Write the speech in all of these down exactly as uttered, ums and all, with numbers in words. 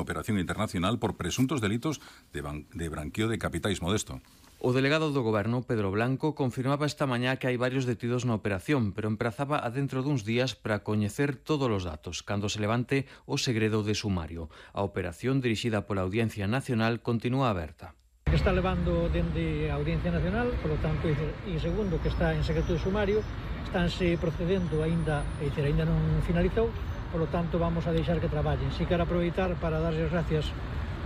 unha operación internacional por presuntos delitos de, de branqueo de capitais. Modesto. O delegado do Goberno, Pedro Blanco, confirmaba esta mañá que hai varios detidos na operación, pero emprazaba a dentro duns días para coñecer todos os datos, cando se levante o segredo de sumario. A operación, dirixida pola Audiencia Nacional, continúa aberta. Que está levando dende a Audiencia Nacional, por lo tanto, e segundo, que está en secreto de sumario, estánse procedendo aínda, é dicir, aínda non finalizou, por lo tanto, vamos a deixar que traballen. Si quero aproveitar para darles gracias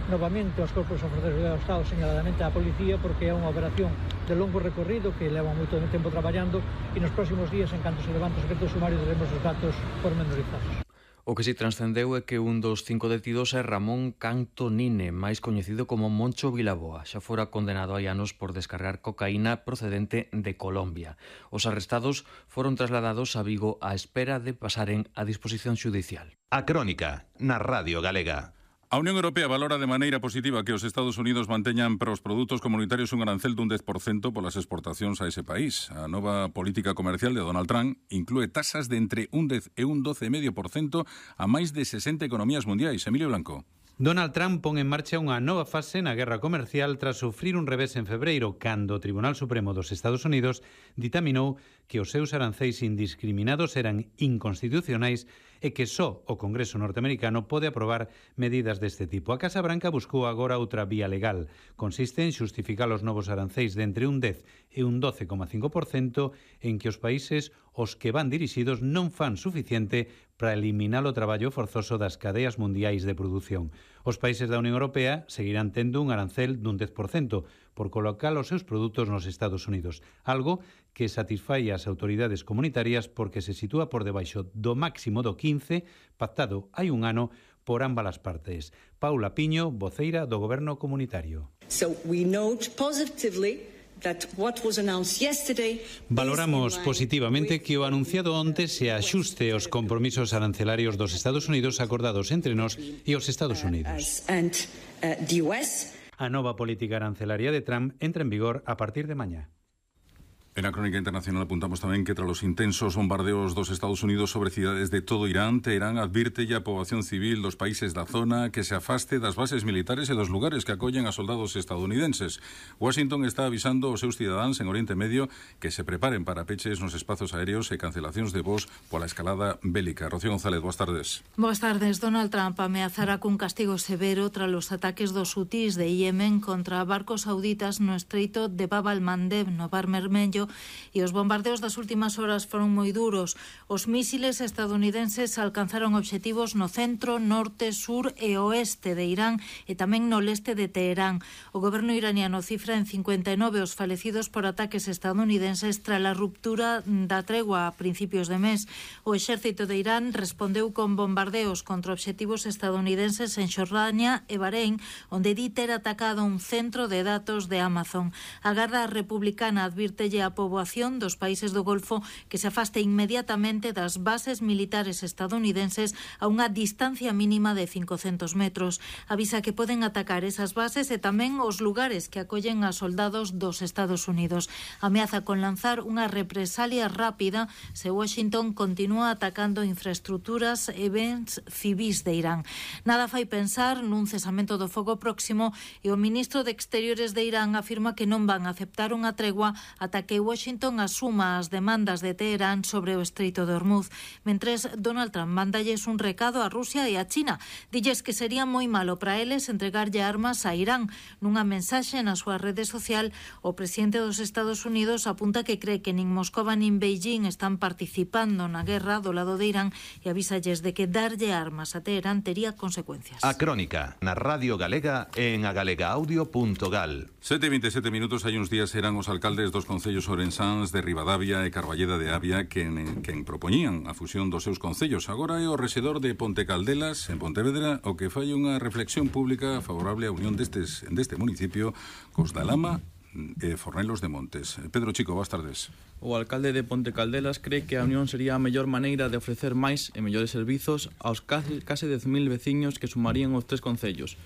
novamente aos corpos de forza de seguridade do Estado, señaladamente á policía, porque é unha operación de longo recorrido que leva moito tempo traballando e nos próximos días, en canto se levante o secreto de sumario, teremos os datos pormenorizados. O que si transcendeu é que un dos cinco detidos é Ramón Cantonine, máis coñecido como Moncho Vilaboa. Xa fora condenado hai anos por descargar cocaína procedente de Colombia. Os arrestados foron trasladados a Vigo á espera de pasaren a disposición xudicial. A Crónica, na Radio Galega. A Unión Europea valora de maneira positiva que os Estados Unidos manteñan para os produtos comunitarios un arancel dun dez por cento polas exportacións a ese país. A nova política comercial de Donald Trump inclúe tasas de entre un dez e un doce vírgula cinco por cento a máis de sesenta economías mundiais. Emilio Blanco. Donald Trump pon en marcha unha nova fase na guerra comercial tras sufrir un revés en febreiro, cando o Tribunal Supremo dos Estados Unidos ditaminou que os seus aranceis indiscriminados eran inconstitucionais e que só o Congreso norteamericano pode aprobar medidas deste tipo. A Casa Branca buscou agora outra vía legal. Consiste en xustificar os novos aranceis de entre un dez e un doce vírgula cinco por cento en que os países os que van dirixidos non fan suficiente para eliminar o traballo forzoso das cadeas mundiais de produción. Os países da Unión Europea seguirán tendo un arancel dun dez por cento por colocar os seus produtos nos Estados Unidos, algo que satisfai as autoridades comunitarias porque se sitúa por debaixo do máximo do quince pactado hai un ano por ambas as partes. Paula Piño, voceira do Goberno comunitario. So we note positively that what was announced yesterday. Valoramos positivamente que o anunciado onte se axuste aos compromisos arancelarios dos Estados Unidos acordados entre nós e os Estados Unidos. And uh, the U S. A nova política arancelaria de Trump entra en vigor a partir de mañá. En la Crónica Internacional apuntamos tamén que tras los intensos bombardeos dos Estados Unidos sobre cidades de todo Irán, Teherán advirte a poboación civil dos países da zona que se afaste das bases militares e dos lugares que acollen a soldados estadounidenses. Washington está avisando aos seus cidadáns en Oriente Medio que se preparen para peches nos espazos aéreos e cancelacións de voos pola escalada bélica. Rocío González, boas tardes. Boas tardes. Donald Trump ameazará cun castigo severo tras os ataques dos hutis de Yemen contra barcos sauditas no estreito de Bab al-Mandeb, no Mar Vermello, e os bombardeos das últimas horas foron moi duros. Os mísiles estadounidenses alcanzaron obxectivos no centro, norte, sur e oeste de Irán e tamén no leste de Teherán. O goberno iraniano cifra en cincuenta e nove os falecidos por ataques estadounidenses tras a ruptura da tregua a principios de mes. O exército de Irán respondeu con bombardeos contra obxectivos estadounidenses en Xordania e Bahrein, onde di ter atacado un centro de datos de Amazon. A Garda Republicana advírtelle a poboación dos países do Golfo que se afaste inmediatamente das bases militares estadounidenses a unha distancia mínima de cincocentos metros. Avisa que poden atacar esas bases e tamén os lugares que acollen a soldados dos Estados Unidos. Ameaza con lanzar unha represalia rápida se Washington continúa atacando infraestructuras e bens civis de Irán. Nada fai pensar nun cesamento do fogo próximo e o ministro de Exteriores de Irán afirma que non van a aceptar unha tregua ata que Washington asuma as demandas de Teherán sobre o estreito de Hormuz. Mentres, Donald Trump mandalles un recado a Rusia e a China. Dilles que sería moi malo para eles entregarlle armas a Irán. Nunha mensaxe na súa rede social, o presidente dos Estados Unidos apunta que cree que nin Moscova nin Beijing están participando na guerra do lado de Irán e avísalles de que darlle armas a Teherán tería consecuencias. A Crónica, na Radio Galega e en agalegaaudio punto gal. sete e veintesete minutos, hai uns días eran os alcaldes dos concellos ourensáns de Ribadavia e Carballeda de Avia quen, quen propoñían a fusión dos seus concellos. Agora é o rexedor de Ponte Caldelas, en Pontevedra, o que fai unha reflexión pública favorable á unión destes, deste municipio cos da Lama e Fornelos de Montes. Pedro Chico, boas tardes. O alcalde de Ponte Caldelas cree que a unión sería a mellor maneira de ofrecer máis e mellores servizos aos case, case dez mil veciños que sumarían os tres concellos.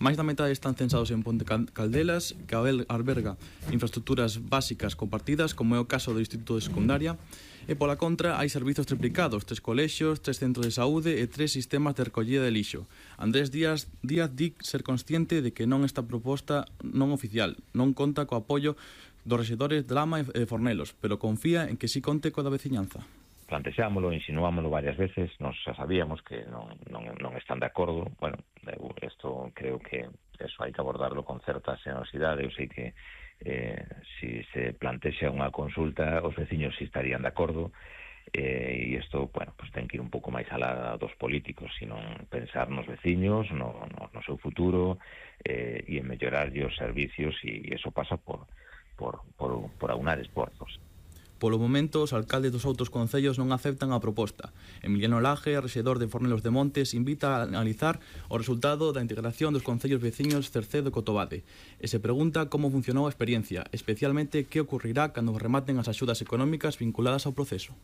Máis da metade están censados en Ponte Caldelas, que alberga infraestructuras básicas compartidas, como é o caso do Instituto de Secundaria, e pola contra hai servizos triplicados, tres colexios, tres centros de saúde e tres sistemas de recollida de lixo. Andrés Díaz, Díaz di ser consciente de que non esta proposta non oficial non conta co apoio dos rexedores de Lama e Fornelos, pero confía en que si conte coa da veciñanza. Plantexámoslo, insinuámoslo varias veces, nos xa sabíamos que non, non, non están de acordo. Bueno, isto creo que eso hai que abordarlo con certa xenerosidade. Eu sei que eh, si se plantexa unha consulta, os veciños si estarían de acordo, eh, e isto, bueno, pues ten que ir un pouco máis alá dos políticos, sino pensar nos veciños, no, no, no seu futuro, eh, e en mellorar os servicios, e iso pasa por, por, por, por aunar esforzos. Polo momento, os alcaldes dos outros concellos non aceptan a proposta. Emiliano Laje, rexedor de Fornelos de Montes, invita a analizar o resultado da integración dos concellos veciños Cercedo e Cotobade e se pregunta como funcionou a experiencia, especialmente que ocurrirá cando rematen as axudas económicas vinculadas ao proceso.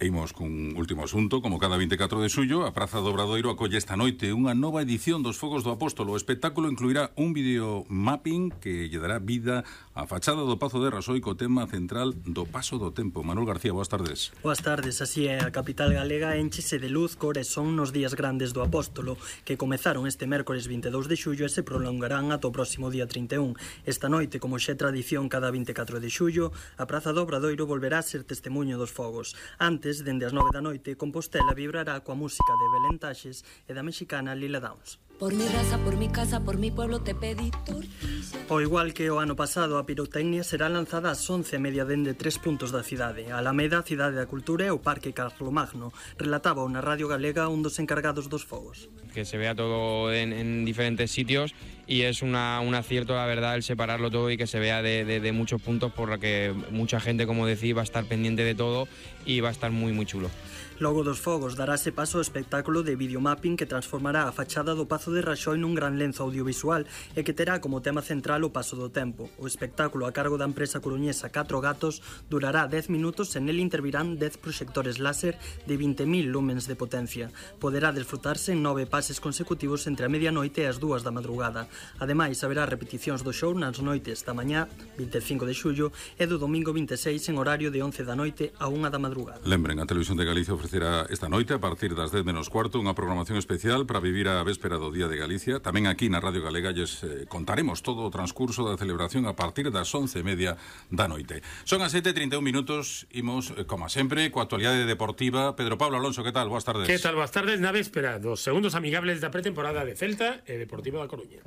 E imos cun último asunto. Como cada vinte e catro de xullo, a Praza do Obradoiro acolle esta noite unha nova edición dos Fogos do Apóstolo. O espectáculo incluirá un video mapping que lle dará vida á fachada do Pazo de Rasoi co tema central do paso do tempo. Manuel García, boas tardes. Boas tardes. Así é, a capital galega enchese de luz, cores son nos días grandes do Apóstolo, que comezaron este mércores vinte e dous de xullo e se prolongarán ata o próximo día trinta e un. Esta noite, como xa é tradición cada vinte e catro de xullo, a Praza do Obradoiro volverá a ser testemunho dos fogos. Antes, dende as nove da noite, Compostela vibrará coa música de Belén Taxes e da mexicana Lila Downs. Por mi raza, por mi casa, por mi pueblo te pedí tortilla. O igual que o ano pasado, a pirotecnia será lanzada ás once e media dende tres puntos da cidade. A Alameda, Cidade da Cultura e o Parque Carlomagno. Relataba na Radio Galega un dos encargados dos fogos. Que se vea todo en, en diferentes sitios y es una, un acierto, la verdad, el separarlo todo y que se vea de, de, de muchos puntos, por lo que mucha gente, como decís, va a estar pendiente de todo y va a estar muy, muy chulo. Logo dos fogos darase paso ao espectáculo de videomapping que transformará a fachada do Pazo de Raxoi nun gran lenzo audiovisual e que terá como tema central o paso do tempo. O espectáculo a cargo da empresa coruñesa Catro Gatos durará dez minutos e nel intervirán dez proxectores láser de vinte mil lumens de potencia. Poderá desfrutarse en nove pases consecutivos entre a medianoite e as dúas da madrugada. Ademais, haberá repeticións do show nas noites da mañá, vinte e cinco de xullo, e do domingo vinte e seis en horario de once da noite a unha da madrugada. Lembren, a Televisión de Galicia ofrece será esta noite a partir das dez menos cuarto unha programación especial para vivir a véspera do Día de Galicia. Tamén aquí na Radio Galega lles eh, contaremos todo o transcurso da celebración a partir das once e media da noite. Son as sete e trinta e un minutos, imos, eh, como sempre, coa actualidade deportiva. Pedro Pablo Alonso, que tal? Boas tardes. Que tal? Boas tardes na véspera dos segundos amigables da pretemporada de Celta e Deportivo da Coruña.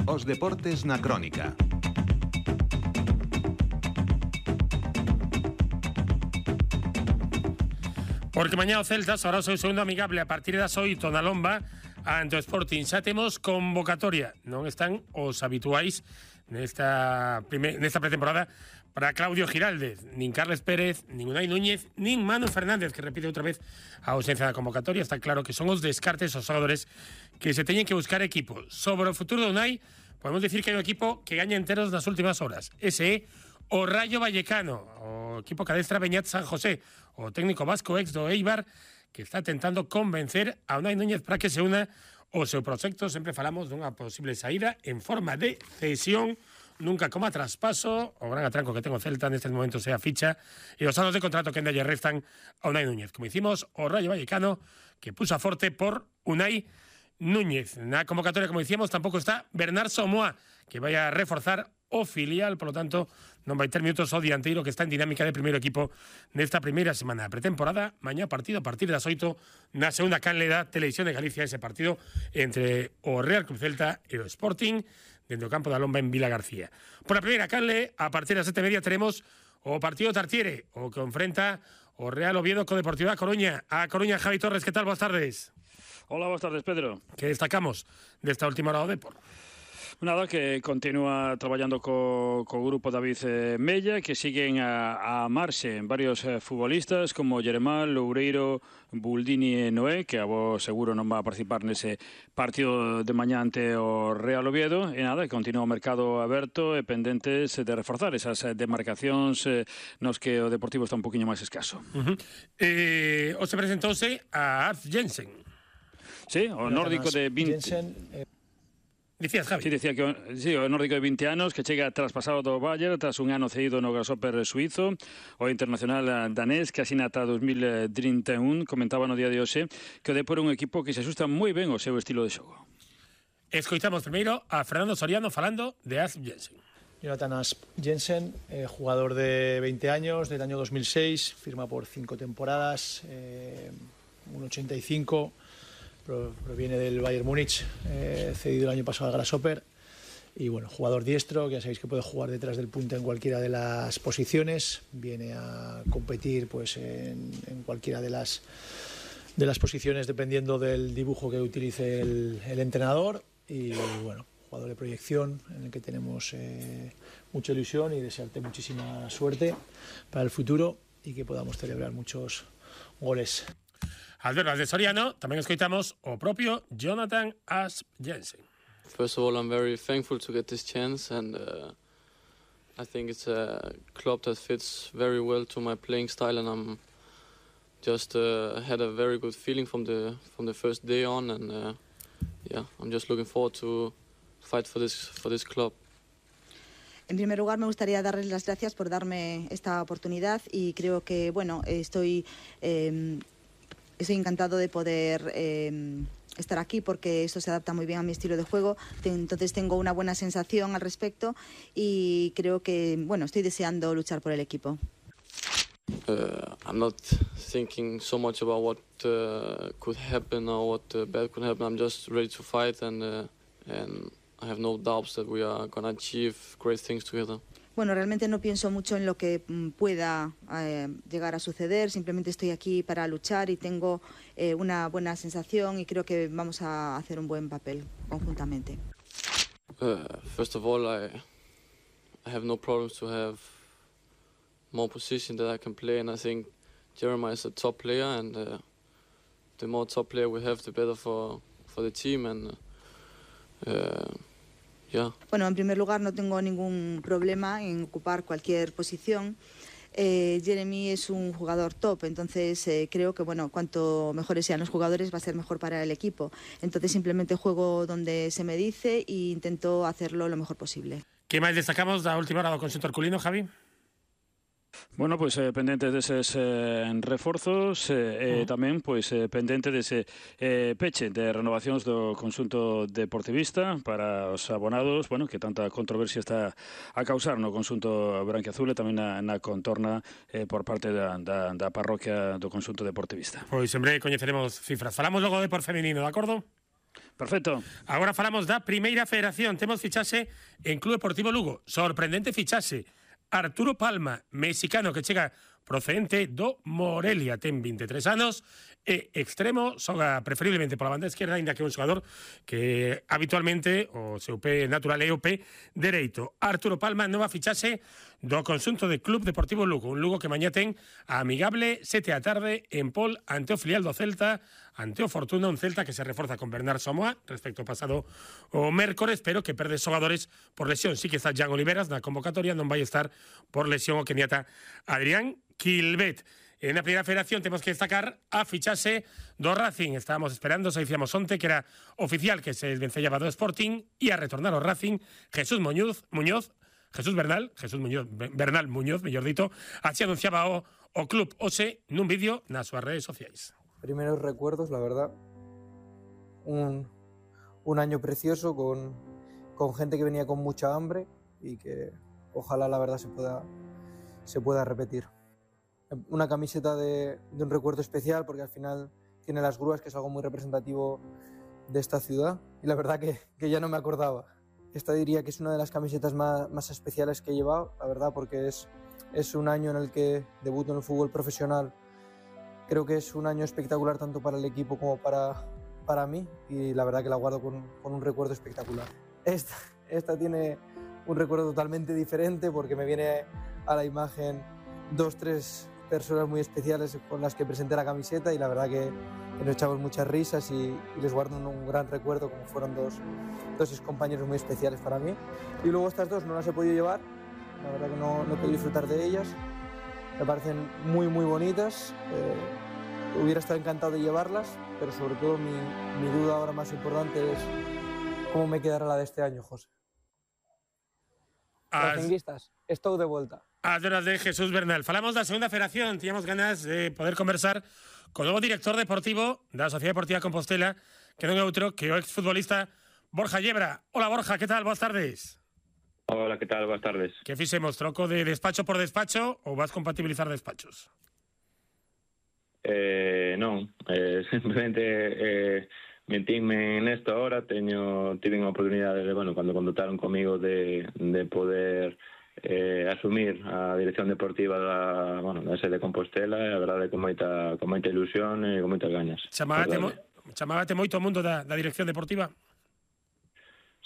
Os deportes na crónica. Porque mañá o Celta será o seu segundo amigable a partir das oito na Lomba ante o Sporting. Xa temos convocatoria, non están os habituais nesta, primer, nesta pretemporada para Claudio Giraldez, nin Carles Pérez, nin Unai Núñez, nin Manu Fernández, que repite outra vez a ausencia da convocatoria. Está claro que son os descartes os xogadores que se teñen que buscar equipo. Sobre o futuro de Unai, podemos decir que hai un equipo que gaña enteros nas últimas horas. Ese é o Rayo Vallecano, o equipo que adestra Beñat San José, o técnico vasco ex do Eibar, que está tentando convencer a Unai Núñez para que se una ao seu proxecto. Sempre falamos dunha posible saída en forma de cesión, nunca como a traspaso. O gran atranco que ten o Celta nestes momentos é a ficha e os anos de contrato que ainda lle restan a Unai Núñez. Como hicimos o Rayo Vallecano, que puso a forte por Unai Núñez. Na convocatoria, como dicíamos, tampouco está Bernard Somoa, que vai a reforzar o filial, por lo tanto, non vai ter minutos o dianteiro que está en dinámica de primeiro equipo nesta primeira semana de pretemporada. Mañá partido a partir das oito na segunda canle da Televisión de Galicia, ese partido entre o Real Club Celta e o Sporting dentro do campo da Lomba en Vila García. Por a primeira canle, a partir das sete e media teremos o partido Tartiere, o que enfrenta o Real Oviedo co Deportivo da Coruña. A Coruña, Javi Torres, que tal? Boas tardes. Hola, boas tardes, Pedro. Que destacamos desta última hora do Depor? Nada, que continúa traballando co, co grupo David eh, Mella, que siguen a, a marxe en varios eh, futbolistas como Jeremán, Loureiro, Buldini e Noé, que a vos seguro non va a participar nese partido de mañá ante o Real Oviedo. E nada, que continúa o mercado aberto e pendentes de reforzar esas demarcacións eh, nos que o Deportivo está un poquinho máis escaso. Uh-huh. eh, o se presentouse a Alf Jensen. Sí, o nórdico de vinte... Jensen, eh... Dicías, Javi? Sí, dicía que o, sí, o nórdico de vinte anos que chega traspasado do Bayern tras un ano cedido no Grasshopper suizo. O internacional danés que asina ata dos mil trinta e un comentaba no día de hoxe que o Depor é un equipo que se asusta moi ben ao seu estilo de xogo. Escoitamos primeiro a Fernando Soriano falando de Asp Jensen. Jonathan Asp Jensen, eh, jugador de veinte años, del año dos mil seis, firma por cinco temporadas, eh, uno ochenta y cinco. Proviene del Bayern Múnich, eh, cedido el año pasado al Grasshopper. Y bueno, jugador diestro, que ya sabéis que puede jugar detrás del punta en cualquiera de las posiciones. Viene a competir pues en, en cualquiera de las, de las posiciones dependiendo del dibujo que utilice el, el entrenador. Y bueno, jugador de proyección en el que tenemos eh, mucha ilusión y desearte muchísima suerte para el futuro y que podamos celebrar muchos goles. Alberto de Soriano, tamén escoitamos o propio Jonathan Asp Jensen. First of all, I'm very thankful to get this chance, and uh, I think it's a club that fits very well to my playing style, and I'm just uh, had a very good feeling from the from the first day on, and uh, yeah, I'm just looking forward to fight for this for this club. En primer lugar, me gustaría darles las gracias por darme esta oportunidad y creo que, bueno, estoy eh, Estoy encantado de poder eh, estar aquí porque esto se adapta muy bien a mi estilo de juego. Entonces tengo una buena sensación al respecto y creo que, bueno, estoy deseando luchar por el equipo. Uh, I'm not thinking so much about what uh, could happen or what uh, bad could happen. I'm just ready to fight and uh, and I have no doubts that we are going to achieve great things together. Bueno, realmente no pienso mucho en lo que pueda eh, llegar a suceder, simplemente estoy aquí para luchar y tengo eh, una buena sensación y creo que vamos a hacer un buen papel conjuntamente. Uh, first of all, I, I have no problems to have more position that I can play, and I think Jeremiah is a top player, and uh, the more top player we have, the better for, for the team, and uh, yeah. Bueno, en primer lugar no tengo ningún problema en ocupar cualquier posición. Eh, Jeremy es un jugador top, entonces eh, creo que bueno, cuanto mejores sean los jugadores va a ser mejor para el equipo. Entonces simplemente juego donde se me dice e intento hacerlo lo mejor posible. ¿Qué más destacamos da última hora do conxunto herculino, Javi? Bueno, pois pues, eh, pendente deses eh, reforzos e eh, uh -huh. tamén pois pues, eh, pendente dese eh, peche de renovacións do conxunto deportivista para os abonados, bueno, que tanta controversia está a causar no conxunto branquiazul e tamén na, na contorna eh, por parte da, da, da parroquia do conxunto deportivista. Pois en breve coñeceremos cifras. Falamos logo de por feminino, de acordo? Perfecto. Agora falamos da primeira federación. Temos fichaxe en Club Deportivo Lugo. Sorprendente fichaxe. Arturo Palma, mexicano que chega procedente do Morelia, ten vinte e tres anos e extremo, xoga preferiblemente pola banda esquerda, ainda que é un xogador que habitualmente o seu pé natural é o pé dereito. Arturo Palma, nova fichaxe do conxunto de Club Deportivo Lugo, un Lugo que mañá ten a amigable sete da tarde en Pol ante o filial do Celta, ante o Fortuna, un Celta que se reforza con Bernard Somoa respecto ao pasado o mércores, pero que perde xogadores por lesión. Sí que está Jan Oliveras na convocatoria, non vai estar por lesión o keniata Adrián Quilvet. En la primera federación tenemos que destacar a fichase do Racing. Estábamos esperando, se decíamos onte, que era oficial que se desvencellaba do Sporting e a retornar ao Racing Jesús Muñoz, Muñoz Jesús Bernal, Jesús Muñoz, Bernal Muñoz, mellor dito, así anunciaba o, o club hoxe nun vídeo nas súas redes sociais. Primeros recuerdos, la verdad. Un, un año precioso con, con gente que venía con mucha hambre y que ojalá la verdad se pueda, se pueda repetir. Una camiseta de, de un recuerdo especial porque al final tiene las grúas, que es algo muy representativo de esta ciudad, y la verdad que, que ya no me acordaba. Esta diría que es una de las camisetas más, más especiales que he llevado, la verdad, porque es, es un año en el que debuto en el fútbol profesional. Creo que es un año espectacular tanto para el equipo como para, para mí, y la verdad que la guardo con, con un recuerdo espectacular. Esta, esta tiene un recuerdo totalmente diferente porque me viene a la imagen dos, tres personas muy especiales con las que presenté la camiseta y la verdad que, que nos echamos muchas risas y, y les guardo un, un gran recuerdo, como fueron dos, dos compañeros muy especiales para mí. Y luego estas dos no las he podido llevar, la verdad que no, no he podido disfrutar de ellas, me parecen muy muy bonitas, eh, hubiera estado encantado de llevarlas, pero sobre todo mi, mi duda ahora más importante es cómo me quedará la de este año, José. Racinguistas, estou de volta. As horas de Jesús Bernal. Falamos da segunda federación, tiñamos ganas de poder conversar co novo director deportivo da Sociedade Deportiva Compostela, que non é outro que o exfutbolista Borja Yebra. Hola Borja, que tal? Boas tardes. Hola, que tal? Boas tardes. Que fixemos, troco de despacho por despacho ou vas compatibilizar despachos? Eh, non, eh, simplemente eh, metínme nesto ahora, teño tive unha oportunidade de, bueno, cando contactaron comigo de, de poder eh, asumir a dirección deportiva da, bueno, da sede de Compostela, e a verdade con moita con moita ilusión e con moitas gañas. Chamábate, mo, chamábate moito o mundo da, da dirección deportiva?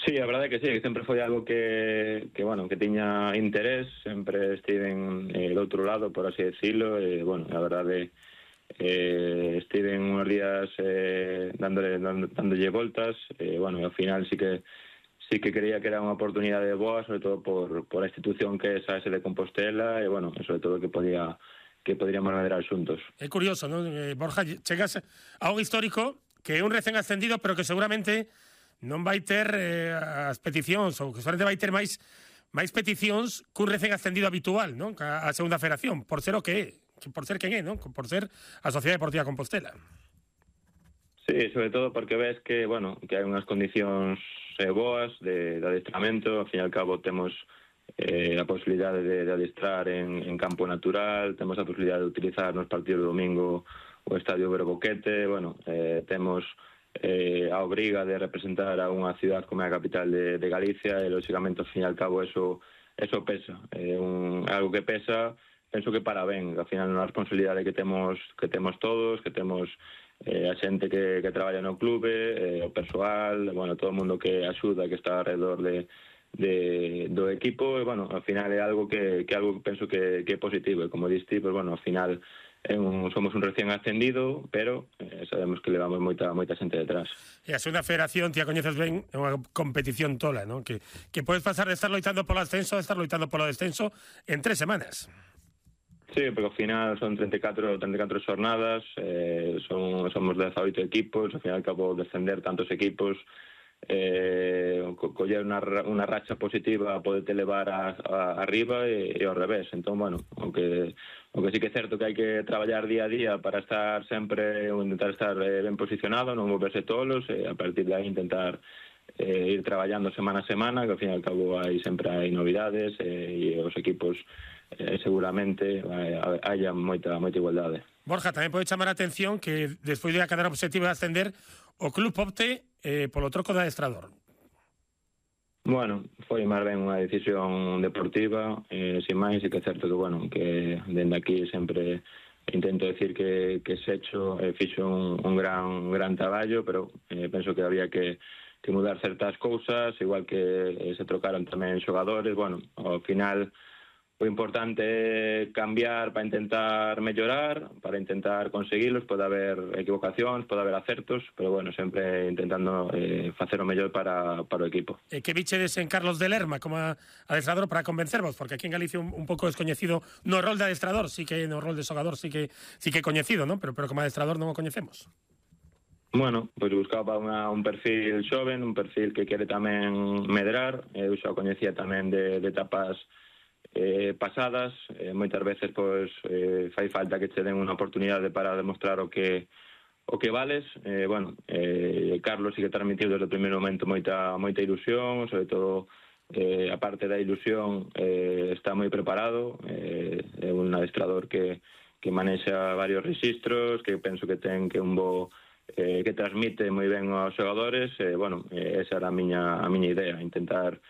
Sí, a verdade que sí, que sempre foi algo que, que bueno, que tiña interés, sempre estiven eh, do outro lado, por así decirlo, e, bueno, a verdade eh, estiven unos días eh, dándole, dando, dándolle voltas, e, bueno, ao final sí que sí que creía que era unha oportunidade boa, sobre todo por, por a institución que é a sede de Compostela, e, bueno, sobre todo que podía que podríamos medrar xuntos. É curioso, non? Eh, Borja, chegas a un histórico que é un recén ascendido, pero que seguramente non vai ter eh, as peticións, ou que seguramente vai ter máis máis peticións que un recén ascendido habitual, non? A, a segunda federación, por ser o que é, por ser quen é, non? Por ser a Sociedade Deportiva Compostela. Sí, sobre todo porque ves que, bueno, que hai unhas condicións eh, boas de, de adestramento, ao fin e ao cabo temos eh, a posibilidade de, de adestrar en, en campo natural, temos a posibilidade de utilizar nos partidos do domingo o Estadio Verboquete, bueno, eh, temos Eh, a obriga de representar a unha ciudad como é a capital de, de Galicia e, lógicamente, ao fin e ao cabo, eso, eso pesa. É eh, un, algo que pesa, penso que para ben. Ao final, unha responsabilidade que temos que temos todos, que temos eh, a xente que, que traballa no clube, eh, o persoal, bueno, todo o mundo que axuda, que está alrededor de, de, do equipo, e, bueno, ao final é algo que, que algo que penso que, que é positivo. E, como diste, pues, bueno, ao final Un, somos un recién ascendido, pero eh, sabemos que levamos moita moita xente detrás. E a segunda federación, ti a coñeces ben, é unha competición tola, non? Que, que podes pasar de estar loitando polo ascenso a estar loitando polo descenso en tres semanas. Sí, porque ao final son treinta e catro xornadas, eh, son, somos dezaoito equipos, ao final acabo de descender tantos equipos, eh, co coller unha, unha racha positiva podete levar a, a, arriba e, e ao revés. Entón, bueno, aunque aunque sí que é certo que hai que traballar día a día para estar sempre, intentar estar eh, ben posicionado, non moverse tolos, e a partir de aí intentar eh, ir traballando semana a semana, que ao fin e ao cabo hai sempre hai novidades, eh, e os equipos eh, seguramente eh, haya moita moita igualdade. Borja, tamén pode chamar a atención que despois de cadar obxectivo de ascender, o club opte eh, polo troco de adestrador. Bueno, foi máis ben unha decisión deportiva, eh, sin máis, e que é certo que, bueno, que dende aquí sempre intento decir que, que Secho eh, fixo un, un gran un gran traballo, pero eh, penso que había que, que mudar certas cousas, igual que eh, se trocaron tamén xogadores. Bueno, ao final o importante é cambiar para intentar mellorar, para intentar conseguilos. Pode haber equivocacións, pode haber acertos, pero, bueno, sempre intentando eh, facer o mellor para, para o equipo. E que bichedes en Carlos de Lerma como adestrador para convencervos? Porque aquí en Galicia un, un pouco descoñecido no rol de adestrador, sí que no rol de xogador sí que sí que coñecido, ¿no? Pero, pero como adestrador non o coñecemos. Bueno, pois buscaba unha, un perfil xoven, un perfil que quere tamén medrar. Eu xa o coñecía tamén de, de etapas Eh, pasadas, eh, moitas veces pois eh, fai falta que che den unha oportunidade para demostrar o que o que vales. Eh, bueno, eh, Carlos sí que transmitiu desde o primeiro momento moita moita ilusión, sobre todo eh, a parte da ilusión eh, está moi preparado, eh, é un adestrador que, que manexa varios registros, que penso que ten que un bo eh, que transmite moi ben aos xogadores. Eh, bueno, eh, esa era a miña, a miña idea, intentar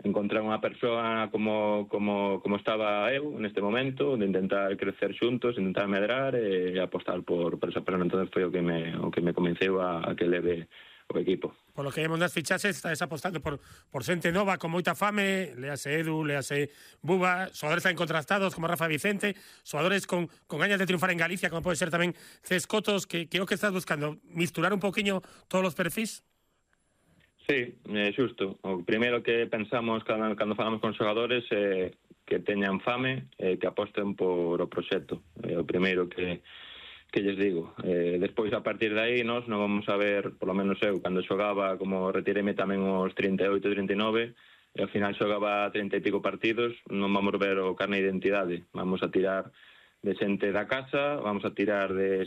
encontrar unha persoa como, como, como estaba eu neste momento, de intentar crecer xuntos, intentar medrar e apostar por, por esa persona. Entón foi o que me, o que me convenceu a, a que leve o equipo. Por lo que vemos nas fichaxes, estás apostando por, por xente nova con moita fame, léase Edu, léase Buba, xogadores tan contrastados como Rafa Vicente, xogadores con, con gañas de triunfar en Galicia, como pode ser tamén Cescotos, que, que é o que estás buscando, misturar un poquinho todos os perfis? Sí, é xusto. O primeiro que pensamos cando, cando falamos con xogadores é que teñan fame e que aposten por o proxecto. É o primeiro que que lles digo. Eh, despois, a partir de aí, nós non vamos a ver, polo menos eu, cando xogaba, como retireme tamén os trinta e oito, trinta e nove, e ao final xogaba trinta e pico partidos, non vamos ver o carne de identidade. Vamos a tirar de xente da casa, vamos a tirar de